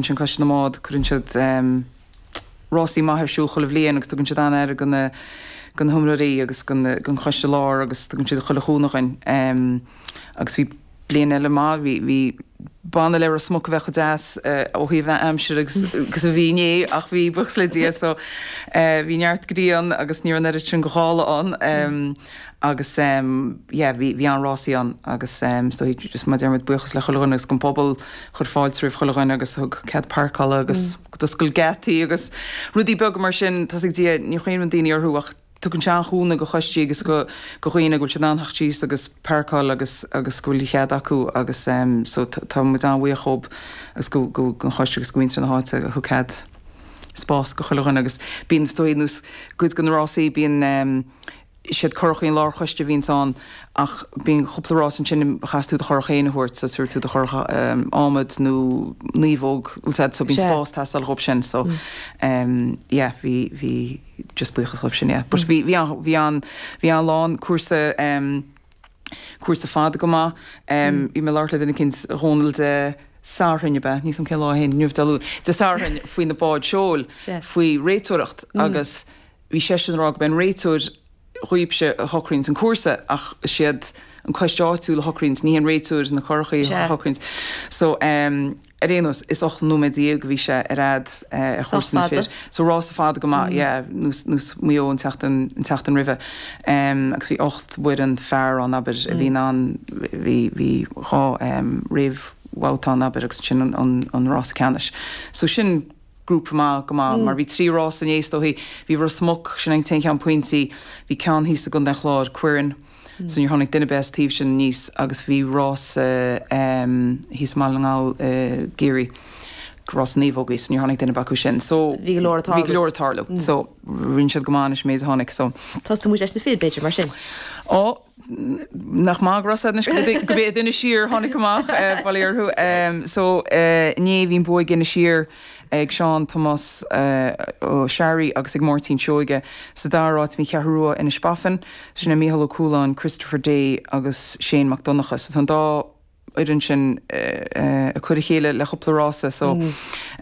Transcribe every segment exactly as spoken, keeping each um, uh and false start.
Sin Coiste na mBád, cuireann siad rásaí maith ar siúl chuile bhliain agus tugann siad an-aire go na go na hiomaitheoirí agus go na gon choiste lár agus tugann siad chuile chúnamh dhuinn. Agus bhí bliain eile maith, bhí bhí b'annamh le Ros Muc a bheith chomh deas ó thaobh na aimsire agus agus a bhí inné ach bhí buíochas le Dia so bhí neart grian agus ní raibh an oiread sin go ghála ann agus yeah bhí bhí an-rásaí ann agus is dóigh just mar a deir muid buíochas le chuile dhuine agus gon pobal chuir fáilte roimh chuile dhuine agus thug cead páirceála agus d'oscail geataí agus rudaí beaga mar sin tá's ag Dia ní chuimhníonn daoine orthu ach tugann sé an-chúnamh go choistí agus go go dhaoine go bhfuil siad in ann theacht síos agus páirceáil agus agus go bhfuil cead acu agus so tá muid an-bhuíoch dhób agus go go gon choiste agus go mhuintir na háite a thug cead spás go chuile dhuine agus bíonn is dóigh nós cuid de na rásaí bíonn siad curachaí an lárchoiste a bhíonns ann ach bíonn cúpla rás ansin a chaithfeas tú do churach féin a thabhairt so tabharfaidh tú do churach adhmaid nó naomhóg bhfuil 's a'd so bíonn spás teastáil dhób sin so yeah bhí bhí just buíochas dhóibh sin yeah but bhí bhí an bhí an bhí an-lán cúrsa cúrsa fada go maith bhí mé ag labhairt le duine eicínt Dhónal Dé Sathairn ab ea níl 's a'm cén lá é inniu Dé Luain Dé Sathairn faoi na báid seoil faoi réiteoireacht agus bhí seisean ag rá go b'é an réiteoir dhaoibhse a shocraíonns an cúrsa ach is iad an coiste áitiúil a shocraíonns, ní hé an réiteoir na curachaí a shocraíonns. So ar aon nós, is ocht nóiméad déag a bhí sé ar fhad ar chúrsa na fir. So rása fada go maith, yeah, nós nós Maigh Eo an tseachtain an tseachtain roimhe. Agus bhí ocht bhfoireann fear ann, abair, a bhí in ann, bhí bhí dhá réamhbhabhta ann, abair, agus ansin an an rása ceannais. So sin grúpa maith go maith mar bhí trí rás inné is dóichí. Bhí Ros Muc, sin an t-aon cheann pointí, bhí ceann thíos i gContae an Chláir, Quirrin, so níor tháinig duine ar bith as taobh sin aníos agus bhí rás thíos i mBaile na nGall i gCiarraí, rás naomhógaí, so níor tháinig duine ar bith acu sin. So bhí go leor ag tarlú. Bhí go leor ag tarlú. So rinne siad go maith anois an méid a tháinig so. Tosóidh muid leis na fir b'fhéidir mar sin. Ó, nach maith go raibh said anois go b'é Inis Oírr a tháinig amach, bail orthu. So inné bhí an bua ag Inis Oírr ag Seán Tomás Ó Searraigh agus ag Máirtín Seoige. Sa dara háit bhí an Cheathrú Rua Inis Bafain, sin é Mícheál Ó Cualáin, Christopher Day agus Shane Mac Donncha. So tá an dá fhoireann sin ag cur a chéile le chúpla rása so sin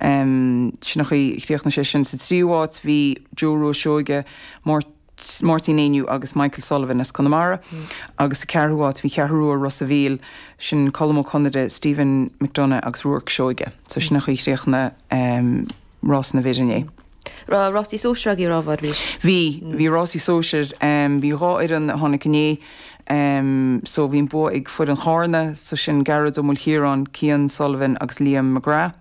an chaoi a chríochnaigh sé sin. Sa tríú háit bhí Joe Rua Seoige, Máirtín Éinniú agus Michael Sullivan as Conamara agus sa ceathrú háit bhí Ceathrú Rua Ros a' Mhíl, sin Colm Ó Conaire, Stephen McDonagh agus Ruarc Seoige. So sin an chaoi a chríochnaigh rás na bhfir inné. Raibh rásaí sóisir agaibh a raibh arís? Bhí, bhí rásaí sóisir. Bhí dhá fhoireann a tháinig inné. So bhí an bua ag foireann Chárna, so sin Gearóid Ó Maoilchiaráin, Cian Sullivan agus Liam McGrath.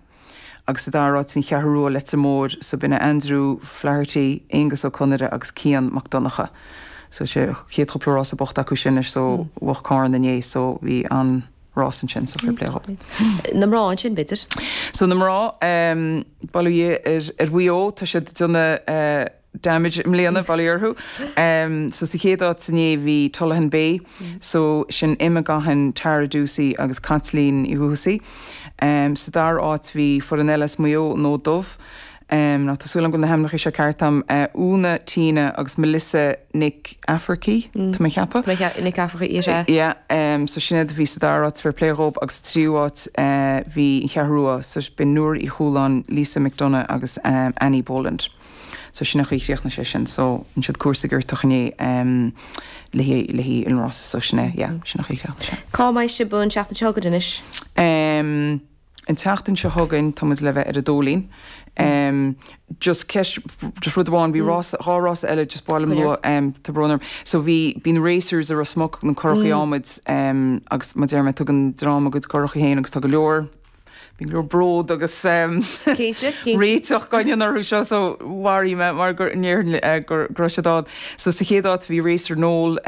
Agus sa dara háit bhí an Cheathrú Rua Leitir Móir, so b'in é Andrew Flaherty, Aonghus Ó Conaire agus Cian Mac Donncha. So sé chéad chúpla rása bocht acu sin anois so bhuaigh Cárna inné so bhí an-rás ansin so fair play dhób. Na mná ansin b'fhéidir? So na mná, bail ó Dhia ar ar Mhaigh Eo, tá siad ag déanamh damage i mbliana, bail ó Dhia orthu. So sa chéad áit inné bhí Tullaghan Bay, so sin Emma Gahan, Tara Ducey agus Caitlín Uí Dhúsaigh. Sa dara háit bhí foireann eile as Maigh Eo, an Fhód Dubh. Now tá súil agam go bhfuil na hainmneacha seo ceart agam, Úna, Tina agus Melissa Nic Eafarcaí, tá mé ag ceapadh. Tá mé ag ceapadh, Nic Eafarcaí, is ea. Yeah, so sin iad a bhí sa dara háit, fair play dhób, agus sa tríú háit bhí an Cheathrú Rua, so b'in Nóra Uí Chualáin, Lisa McDonagh agus Annie Boland. So sin an chaoi a chríochnaigh sé sin. So rinne siad cúrsa giortach inné le haghaidh le haghaidh an rása so sin é, yeah, sin an chaoi a chríochnaigh sé. Cá mbeidh sibh an tseachtain seo chugainn anois? Em, an tseachtain seo chugainn tá muid le bheith ar an Dóilín. Em, just ceist, just rud amháin, bhí rása, dhá rása eile just ba mhaith liom a lua, em, tá brón orm. So bhí, bíonn racers i Ros Muc, na curachaí adhmaid, em, agus mar a deir mé tugann dream a gcuid curachaí féin agus tá go leor, Bíonn go leor bród agus réiteach againn orthu seo so mharaigh mé mar go ndéarfainn go raibh siad ann. So sa chéad áit bhí Racer Noel,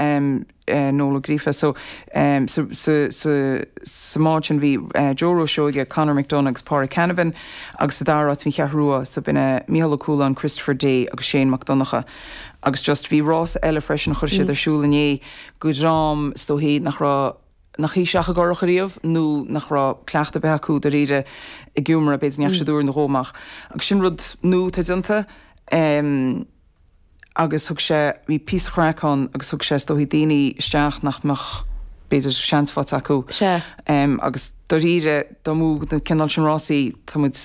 Noel Ó Gríofa so sa sa sa mbád sin bhí Joe Rua Seoige, Conor McDonagh agus Pádraig Canavan agus sa dara háit bhí an Cheathrú Rua so b'in é Mícheál Ó Cualáin, Christopher Day agus Shane Mac Donncha agus just bhí rás eile freisin a chuir siad ar siúl inné go dream is dóichí nach raibh nach shuigh isteach i gcurach ariamh nó nach raibh cleachtadh ar bith acu dáiríre ag iomramh, b'fhéidir go ndeachaigh siad uair nó dhó amach. Agus sin rud nua atá déanta agus thug sé, bhí píosa craic ann agus thug sé is dóichí daoine isteach nach mbeadh b'fhéidir seans faighte acu. Sea. Um, agus dáiríre dá mbuafadh na cineál sin rásaí tá muid